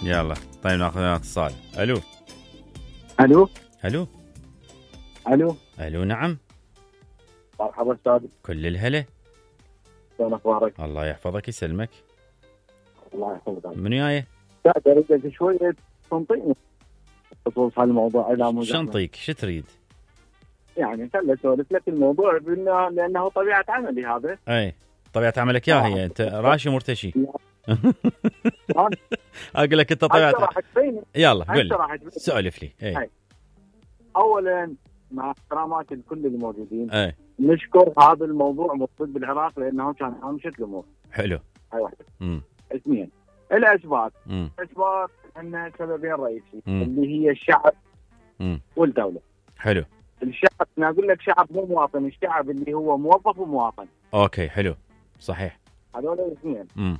يلا طيب ناخذ اتصال. الو الو الو الو الو نعم. مرحبا استاذ، كل الهلا. شلون اخبارك؟ الله يحفظك يسلمك. الله يحفظك. من وياي؟ لا اريد شويه تنطيني بخصوص هالموضوع اذا مو شنطيك شو تريد؟ يعني خل اسولف لك الموضوع لانه طبيعه عملي هذا. اي طبيعه عملك يا هي انت راشي مرتشي. اقول لك انت طبيعه. يلا قول لي سولف لي. اي اولا مع احترامات الكل الموجودين، اي نشكر هذا الموضوع مطلوب بالعراق لانه كان هامشة الامور. حلو. هاي واحده. اثنين الاسباب. اسباب عندنا سببين رئيسي اللي هي الشعب والدوله. حلو. الشعب انا اقول لك شعب مو مواطن، الشعب اللي هو موظف ومواطن. اوكي حلو صحيح. هذول الاثنين.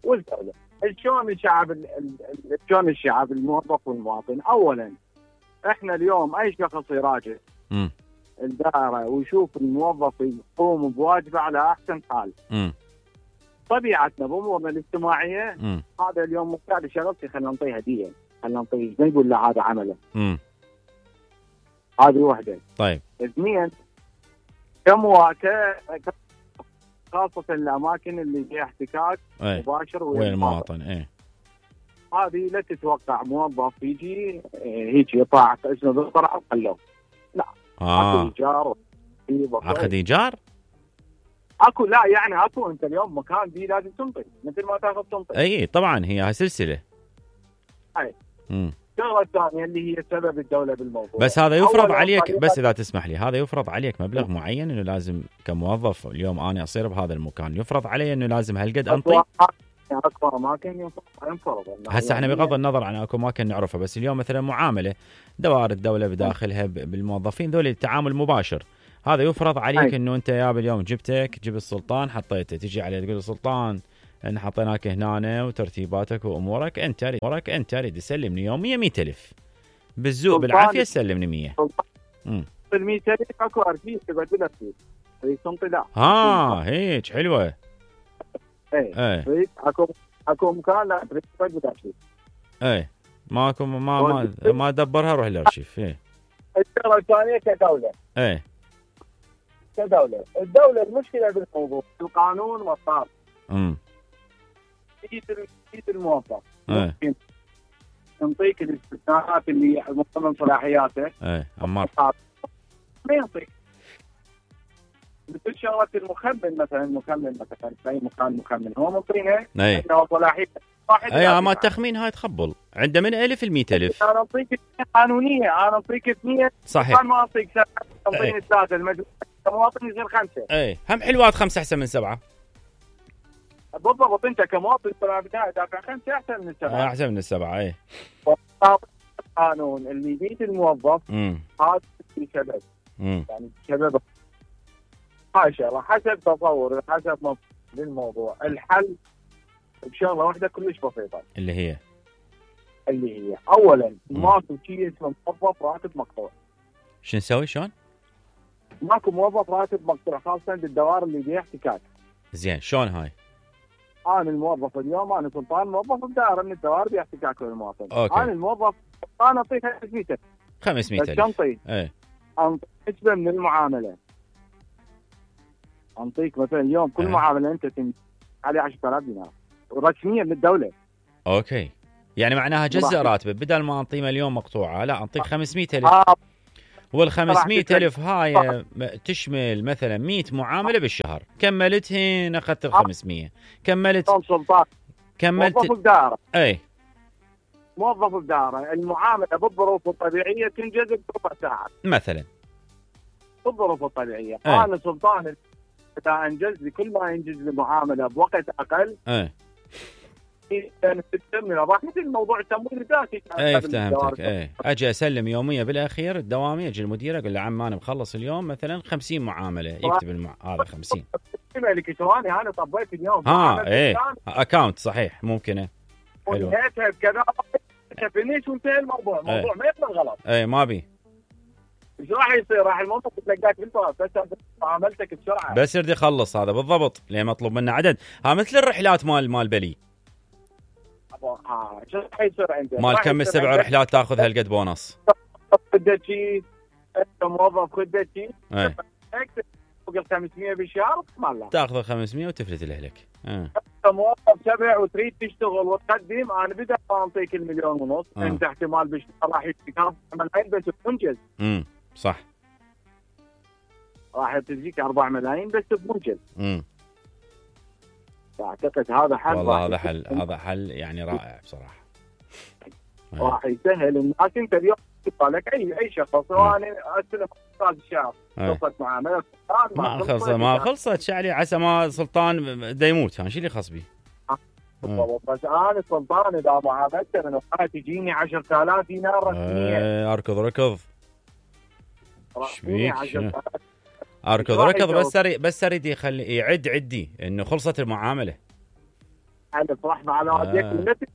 والدوله شلون الشعب شلون الشعب الموظف والمواطن. اولا احنا اليوم اي شخص يراجع الدائره ويشوف الموظف يقوم بواجبه على احسن حال. طبيعتنا بامورنا الاجتماعيه هذا اليوم مقتعد شغلتي خلينا نعطيه هديه، خلينا نعطيه ما نقول له هذا عمله. هذه واحده. طيب. اثنين خاصه الاماكن اللي فيها احتكاك مباشر وين المواطن. ايه هذه لا تتوقع موظف يجي هيك يطاع اسمه بالطرع وخلوه. لا. اكو ايجار. عقد ايجار؟ اكو لا يعني اكو انت اليوم مكان دي لازم تنطي مثل ما تاخذ تنطي. اي طبعا هي سلسله. اي. الشغله الثانيه اللي هي سبب الدوله بالموضوع. بس هذا يفرض عليك، بس اذا تسمح لي، هذا يفرض عليك مبلغ معين انه لازم كموظف اليوم انا اصير بهذا المكان، يفرض علي انه لازم هالقد انطي. اكبر اماكن ينفرض. هسه احنا بغض النظر عن اكو اماكن نعرفها، بس اليوم مثلا معامله دوائر الدوله بداخلها بالموظفين ذول التعامل مباشر، هذا يفرض عليك انه انت يا اليوم جبت السلطان حطيته، تجي عليه تقول السلطان ان حطيناك هنا وترتيباتك وامورك انت ريد تسلمني يوميا 100,000 بالذوق بالعافيه تسلمني 100. ال 100,000 اكو ارشيف تقعد له فيه تنطي لا. هيك حلوه. اي اكو مكان لا تريد تقعد ارشيف. اي ماكو ما دبرها روح الارشيف. الشغله الثانيه كدوله. كدوله الدوله المشكله بالموضوع القانون والطاقه. تجي الموظف ممكن ينطيك الاستثناءات اللي من صلاحياته. عمار ما ينطيك. مثل شغله المخمن مثلا في اي مكان مخمن هو منطينه انه صلاحيه ما التخمين هاي تخبل عنده من 1000 ل 100,000. انا اعطيك قانونيه، انا اعطيك 2 صحيح. ما اعطيك 7 تعطيني 3 المجلس كمواطن يصير 5. هم حلوات 5 احسن من 7. بالضبط انت كمواطن بدايه دافع 5 احسن من 7. احسن من 7. القانون اللي بيد الموظف هذا سبب. يعني سبب هاي شغله حسب تصور حسب للموضوع. الحل بشغله واحده كلش بسيطه اللي هي اولا ماكو شيء اسمه موظف راتب مقطوع. شو نسوي شلون؟ ماكو موظف راتب مقطوع خاصه بالدوائر اللي فيها احتكاك. زين شلون هاي؟ انا الموظف اليوم انا سلطان موظف بدائره من الدوائر فيها احتكاك بالمواطن. انا الموظف انا اعطيك 500,000 شنطي. انطيك نسبه من المعامله. انطيك مثلا اليوم كل معامله انت عليه 10,000 دينار رسميا للدوله. اوكي يعني معناها جزء راتبه بدل ما انطيه مليون مقطوعه لا انطيك 500,000. وال 500,000 هاي تشمل مثلا 100 معامله بالشهر، كملتهن اخذت ال 500 كملت موظف بدائره. موظف بدائره المعامله بالظروف الطبيعيه تنجز بربع ساعه مثلا بالظروف الطبيعيه. انا سلطان اذا انجز لي كل ما ينجز لي معامله بوقت اقل راح مثل الموضوع التمويل الذاتي. فهمتك. اجي اسلم يوميه بالاخير الدوامي، اجي المدير اقول له عم انا مخلص اليوم مثلا 50 معامله، يكتب هذا 50 الكتروني انا طبيت اليوم اكاونت صحيح ممكنه حلو كذا فينيش وانتهى الموضوع. الموضوع ما يقبل غلط. ما بي ايش راح يصير؟ راح الموظف يتلقاك بالطرف بس عملتك بسرعه بس يريد يخلص. هذا بالضبط ليه مطلوب منه عدد. مثل الرحلات مال بلي شو راح يصير عنده؟ مال كم السبع رحلات تاخذ هالقد بونص؟ خدتي انت موظف خدتي ايه فوق ال 500 بالشهر مالك تاخذ 500 وتفلت لاهلك. انت موظف 7 وتريد تشتغل وتقدم، انا بدل ما اعطيك 1.5 مليون انت احتمال بالشهر راح يجيك 4 ملايين بس بمنجز. صح، راح تجيك 4 ملايين بس بمنجز. اعتقد هذا حل. والله هذا حل يعني رائع بصراحه. راح يسهل الناس. انت اليوم لك اي شخص سواء استلم استاذ الشهر خلصت معامله ما خلصت شعلي عسى ما سلطان دا يموت، شو اللي خص بي؟ بس انا سلطان اذا معاملته من وقت تجيني 10,000 دينار رسميه. اركض شبيك اركض بس اريد يخلي يعد عدي انه خلصت المعامله. انا صراحه على وديك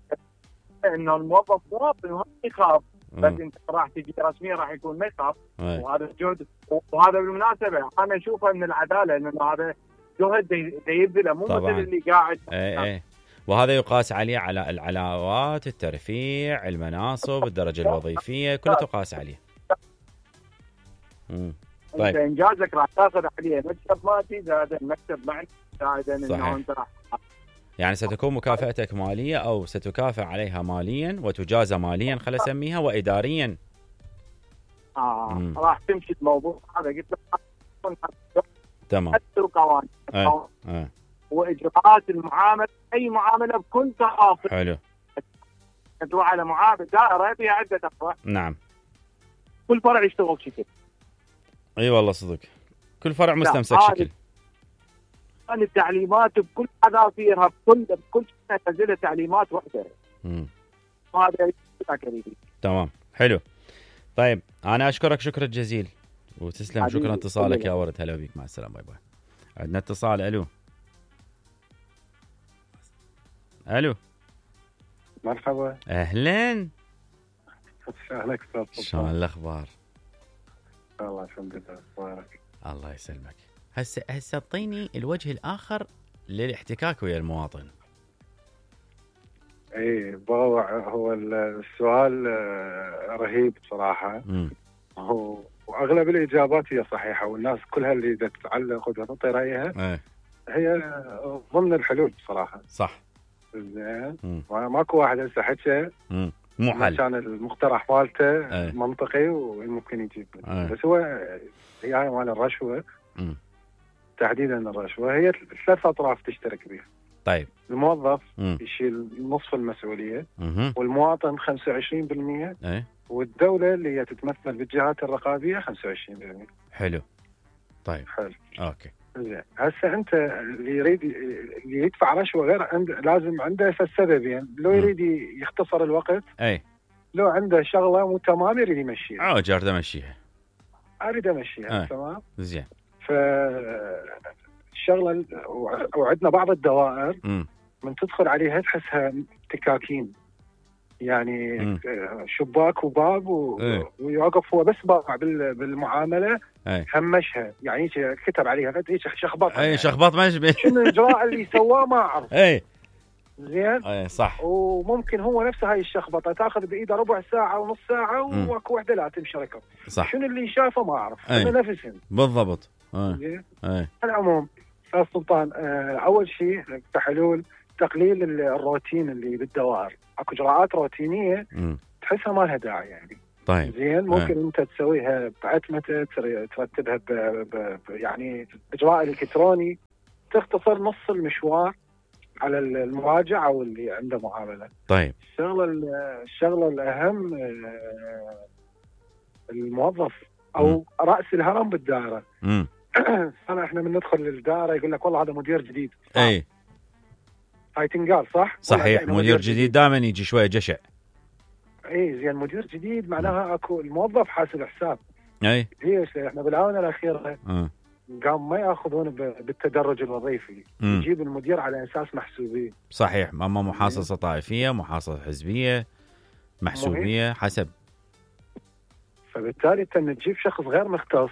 انه الموظف مواطن وما يخاف، بس انت راح تجي رسميا راح يكون ما يخاف. وهذا جهد، وهذا بالمناسبه انا اشوفه من العداله انه هذا جهد يبذله مو مثل اللي قاعد. اي وهذا يقاس عليه على العلاوات، الترفيع، المناصب، الدرجه الوظيفيه، كله تقاس عليه. طيب انت انجازك راح تاخذ عليه مكتب مادي زائد المكتب معنوي زائد انه انت راح يعني ستكون مكافأتك مالية أو ستكافئ عليها ماليا وتجازى ماليا خلينا نسميها وإداريا. راح تمشي الموضوع هذا قلت لك. تمام. قوانين وإجراءات المعاملة، أي معاملة بكل تفاصيل. حلو. تروح على معاملة دائرة فيها عدة أفرع. نعم. كل فرع يشتغل شكل. أي والله صدق. كل فرع مستمسك شكل. التعليمات بكل حذافيرها بكل سنة تنزلها تعليمات واحدة. هذا كريمي. تمام حلو. طيب أنا أشكرك شكرا جزيل وتسلم. شكرا اتصالك يا ورد. هلا بيك، مع السلامة، باي باي. عندنا اتصال. ألو مرحبا. أهلا. أهلك أستاذ. شلون الأخبار؟ والله الحمد لله بارك. الله يسلمك. هسه اعطيني الوجه الآخر للاحتكاك ويا المواطن. اي هو السؤال رهيب بصراحة. واغلب الاجابات هي صحيحة، والناس كلها اللي تتعلق وتعطي رأيها هي ضمن الحلول بصراحة. صح. زين. ماكو واحد هسه حكى مو حل كان المقترح مالته منطقي وممكن يجيب. بس هو هي مال الرشوة تحديدا. الرشوة هي 3 أطراف تشترك بها. طيب الموظف يشيل نصف المسؤولية، والمواطن 25%، والدولة اللي هي تتمثل بالجهات الرقابية 25%. حلو. طيب حلو. اوكي. زين. هسه انت اللي يدفع رشوة غير لازم عنده سببين. لو يريد يختصر الوقت، لو عنده شغلة مو تمام يريد يمشيها. جارد امشيها. اريد امشيها. تمام. زين. الشغله وعندنا بعض الدوائر من تدخل عليها تحسها تكاكين، يعني شباك وباب ويوقف هو بس باع بالمعامله همشها، يعني كتب عليها هيك شخبط. شخبط ما يشبه. شنو الاجراء اللي سواه ما اعرف. زين. صح. وممكن هو نفسه هاي الشخبطه تاخذ بايده ربع ساعه ونص ساعه واكو وحده لا تمشي ركب. صح. شنو اللي شافه ما اعرف. انا نفسهم بالضبط. زين. على العموم استاذ سلطان، اول شيء كحلول تقليل الروتين اللي بالدوائر. اكو اجراءات روتينيه تحسها ما لها داعي يعني. طيب. زين. ممكن انت تسويها بعتمه، ترتبها يعني اجراء الكتروني، تختصر نص المشوار على المراجع او اللي عنده معامله. طيب. الشغله الاهم الموظف او راس الهرم بالدائره. احنا من ندخل للدائره يقول لك والله هذا مدير جديد. هاي تنقال صح. صحيح. مدير جديد دائما يجي شويه جشع. زين. مدير جديد معناها اكو الموظف حاسب حساب. هي احنا بالاونه الاخيره قام ما ياخذون بالتدرج الوظيفي، يجيب المدير على اساس محسوبيه. صحيح. اما محاصصه طائفيه، محاصصه حزبيه، محسوبيه حسب. فبالتالي انت تجيب شخص غير مختص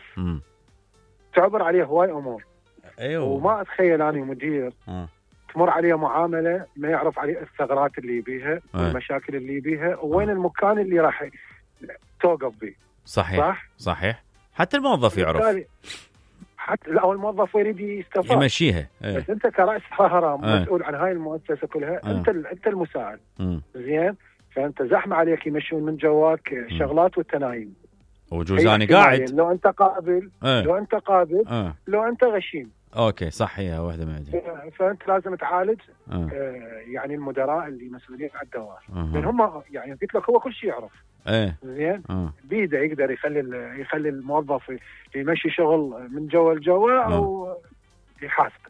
تعبر عليه هواي امور. ايوه. وما اتخيل اني مدير تمر عليه معامله ما يعرف عليه الثغرات اللي بيها والمشاكل اللي بيها وين المكان اللي راح توقف به. صحيح حتى الموظف يعرف، حتى لا الموظف يريد يستفاد يمشيها. بس انت كرأس هرم مسؤول عن هاي المؤسسه كلها، انت المساعد. زين، فانت زحمه عليك يمشون من جواك شغلات وانت نايم وجوزاني قاعد. لو انت قابل لو انت غشيم. اوكي صح، هي واحده من عندي. فانت لازم تعالج يعني المدراء اللي مسؤولين عن الدوائر، لان هم يعني قلت لك هو كل شيء يعرف. زين، بيده يقدر يخلي الموظف يمشي شغل من جوا لجوا او يحاسب.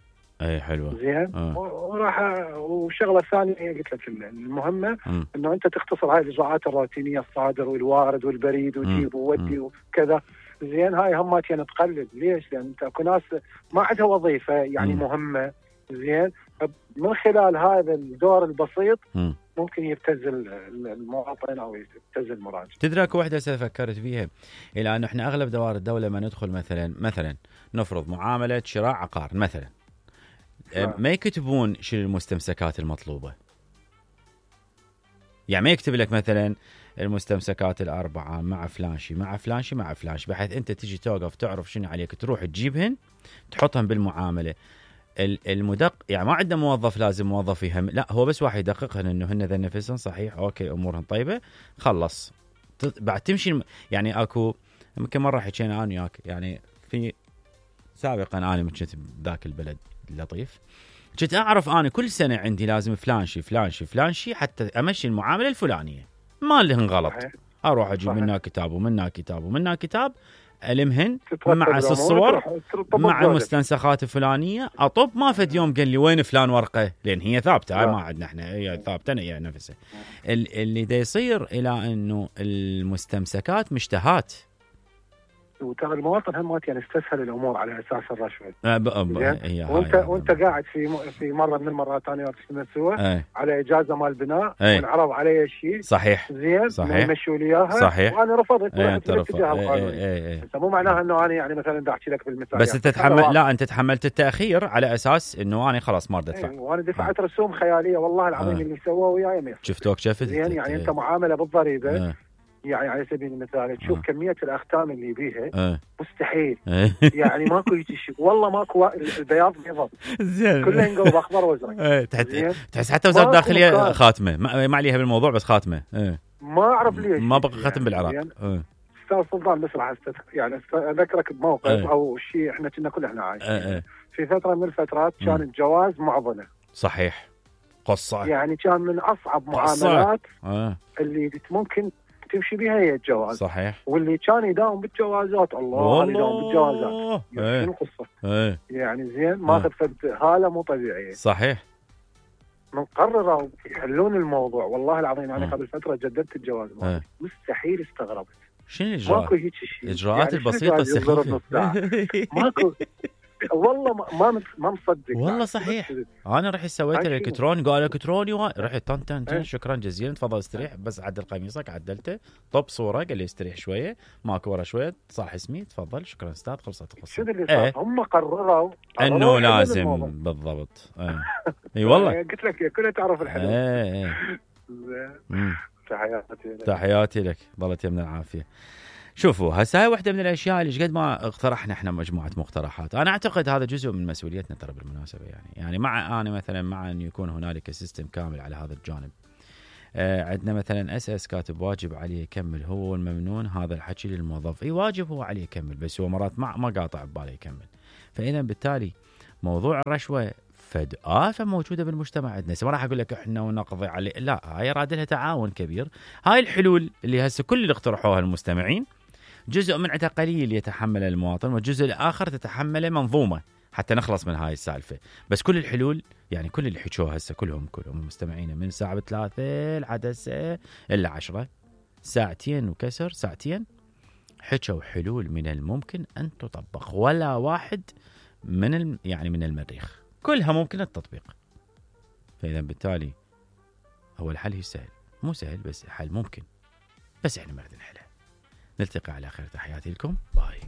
حلوه. زين، وراح والشغله الثانيه قلت لك المهمه انه انت تختصر هاي الاجراءات الروتينيه، الصادر والوارد والبريد وجيب وودي وكذا. زين، هاي همات يعني تقلل. ليش؟ لان انت اكو ناس ما عندها وظيفه يعني مهمه. زين، من خلال هذا الدور البسيط ممكن يبتز المواطن او يبتز المراجع. تدري اكو وحده فكرت فيها، الى انه احنا اغلب دوائر الدوله ما ندخل مثلا نفرض معامله شراء عقار مثلا، ما يكتبون شنو المستمسكات المطلوبه. يعني ما يكتب لك مثلا المستمسكات الأربعة مع فلانشي مع فلانشي مع فلانشي، بحيث أنت تجي توقف تعرف شنو عليك، تروح تجيبهن تحطهم بالمعاملة. المدق يعني ما عندنا موظف لازم موظف يهم، لا هو بس واحد يدققهن إنه هن ذا نفسهم صحيح، أوكي أمورهم طيبة، خلص بعد تمشي. يعني أكو يمكن مرة حكينا أنا وياك، يعني في سابقا أنا كنت بذاك البلد اللطيف، كنت أعرف أنا كل سنة عندي لازم فلانشي حتى أمشي المعاملة الفلانية، ما لهن غلط. أروح أجيب منها كتاب ومنها كتاب ألمهن مع الصور مع المستنسخات الفلانية، أطب ما فد يوم قال لي وين فلان ورقة، لأن هي ثابتة ما عندنا احنا، هي ثابتة هي نفسها. اللي دا يصير إلى أنه المستمسكات مشتهات، وترى المواطن هم يعني استسهل الامور على اساس الرشوه. وانت قاعد في مره من المرات انا وياك سوا على اجازه مال بناء وانعرض علي شيء. صحيح. زين، يمشوا لي اياها. صحيح. وانا رفضت بالاتجاه القانوني. مو معناها انه انا يعني مثلا بدي احكي لك بالمثال، بس انت تتحمل. لا انت تحملت التاخير على اساس انه انا خلاص ما اريد ادفع. وانا دفعت رسوم خياليه والله العظيم اللي سووه وياي ما شفتوك شفت. زين، يعني انت معامله بالضريبه يعني على سبيل المثال تشوف كمية الأختام اللي بيها مستحيل. يعني ماكو شيء والله، ماكو البياض بيض كله ينقلب أخضر وأزرق. تحس حتى وزارة الداخلية خاتمة ما عليها بالموضوع، بس خاتمة. ما أعرف ليش ما بقى ختم بالعراق. أستاذ سلطان بس راح يعني أذكرك بموقف أو شيء إحنا كنا كلنا عايشين في فترة من الفترات، كان الجواز معضلة. صحيح، قصة يعني كان من أصعب معاملات اللي ممكن تمشي بها هي الجواز. صحيح. واللي كان يداوم بالجوازات الله يداوم بالجوازات يعني القصة يعني زين ماخذ هالة مو طبيعية. صحيح. من قرروا يحلون الموضوع والله العظيم انا قبل فترة جددت الجواز مستحيل استغربت. شنو الإجراءات؟ ماكو هيك شيء. الإجراءات يعني البسيطة السخيفة. ماكو والله ما مصدق والله. صحيح. انا رحت سويت الالكتروني، قال الكتروني رحت طن شكرا جزيلا تفضل استريح، بس عدل قميصك عدلته، طب صوره قال لي استريح شويه، ماكو ورا شويه صح اسمي تفضل شكرا استاذ، خلصت القصه. شنو اللي صار؟ هم قرروا انه لازم بالضبط. اي والله قلت لك كلها تعرف الحلو. تحياتي لك، ضلت يمنا العافيه. شوفوا هسه هاي واحدة من الأشياء اللي قد ما اقترحنا احنا مجموعة مقترحات. أنا أعتقد هذا جزء من مسؤوليتنا ترى بالمناسبة، يعني مع أنا مثلا مع أن يكون هنالك سيستم كامل على هذا الجانب. عندنا مثلا أساس كاتب واجب عليه يكمل، هو الممنون هذا الحكي للموظف، أي واجب هو عليه يكمل، بس هو مرات ما قاطع بباله يكمل. فإذا بالتالي موضوع الرشوة فد آفة موجودة بالمجتمع عندنا. ما راح أقول لك إحنا ونقضي عليه، لا هاي راد لها تعاون كبير. هاي الحلول اللي هسه كل اللي اقترحوها المستمعين جزء من عندها قليل يتحمل المواطن، والجزء الآخر تتحمله منظومة حتى نخلص من هاي السالفة. بس كل الحلول يعني كل اللي حكوها هسه كلهم المستمعين من ساعة 3 لحد هسه إلا 10 ساعتين وكسر ساعتين حكوا حلول من الممكن أن تطبق، ولا واحد من من المريخ، كلها ممكن التطبيق. فإذا بالتالي هو الحل هي سهل، مو سهل بس حل ممكن، بس احنا ما نريد نحله. نلتقي على خير، تحياتي لكم، باي.